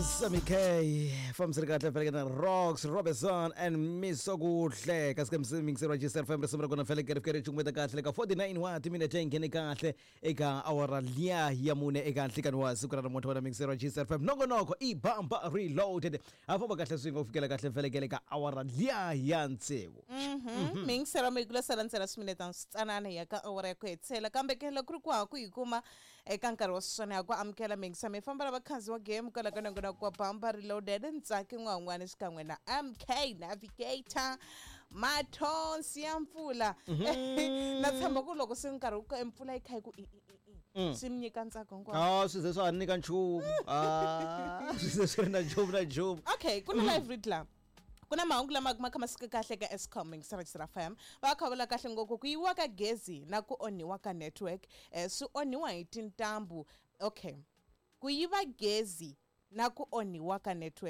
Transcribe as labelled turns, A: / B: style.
A: Sammy K fambisile kahle feleke na Rocks Robinson and Misokuhle kasi ka mixer wa GSR FM, risimu ra kona feleke ri fike ri cukumeta kahle ka 49 wa timinete, yi nghene kahle eka awara liya ya 4 eka nhlikani wa siku ra namuntlha. Wena mixer wa GSR FM, nongonoko i Bamba Reloaded, ha famba kahle swin'we ku fikela kahle felekele ka awara liya ya 6.
B: Mingisela mi kula sala ntsena swiminetana switsanana hi ya ka awara ya ku hetisela, kambe ke loko ku ri ku ha ku yi kuma eka nkarhi wa sweswiwani, ya ku amukela mingisa mi famba lava khandziyi wa game kwala ka nongonoko wa Bamba Reloaded, Ntsaki N'wan'wani xikan'we na MK Navigator, mathonsi ya mpfula. Na tshemba ku loko se nkarhi wu ka mpfula yi kha yi ku i i i i, swi mi nyika ntsako hinkwawo.
A: A swi ze swa ha nyika nchumu, a swi ze swi ri na nchumu na nchumu.
B: Okay, ku na live read la, ku na mahungu lama ma kha ma suka kahle ka Eskom. Mingisela FM va kha vula kahle ngopfu ku yiviwa ka gezi na ku onhiwa ka network, swi onhiwa hi tintambu. Okay, ku yiva gezi na ku onhiwa ka network.